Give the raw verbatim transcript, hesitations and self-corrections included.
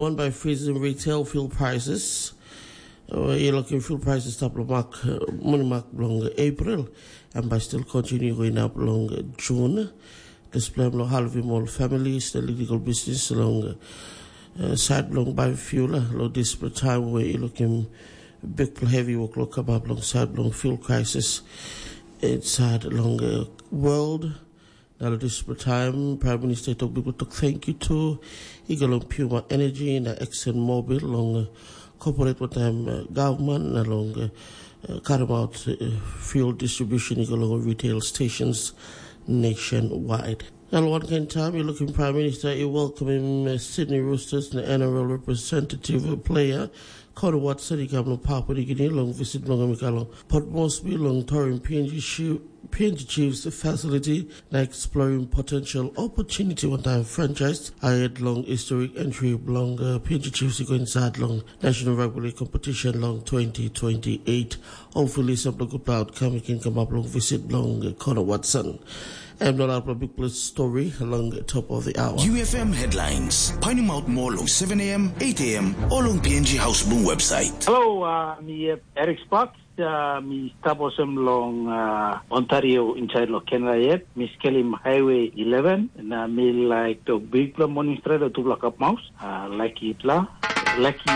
One by freezing retail fuel prices. Uh, you looking fuel prices stap long mak, uh, money mark long April, and by still continue going up long June. Display long halving all families, the legal business long uh, side long buy fuel, uh, lo this time where you looking big heavy work lo come up long side long fuel crisis. It's sad long uh, world. Now this time, Prime Minister talk people talk thank you to. He go long Puma Energy and Exxon Mobil long uh, corporate with them uh, government along uh, uh, cut about uh, fuel distribution. He go long retail stations nationwide. Now one kind time, you looking Prime Minister, you welcome him uh, Sydney Roosters and N R L representative uh, player Connor Watson, he come long Papua New Guinea long visit long Mikalo Port Moresby long Torin P N G Chief P N G Chiefs facility na exploring potential opportunity one time franchise ahead long historic entry belong uh, P N G Chiefs go inside long National Rugby League competition long twenty twenty-eight. Hopefully some of the good outcome can come up long visit long uh, Connor Watson. And not out of big plus story along the top of the hour. U F M headlines. Painting out more long seven a m, eight a m, or long P N G House Bloom website. Hello, uh, I'm Eric Sparks. Uh, mi stap olsem long uh, Ontario inside lo Canada yet. Mi skelim Highway eleven na mi like to big pla morning straight o tupla kap maus. Uh, like it la. Like it.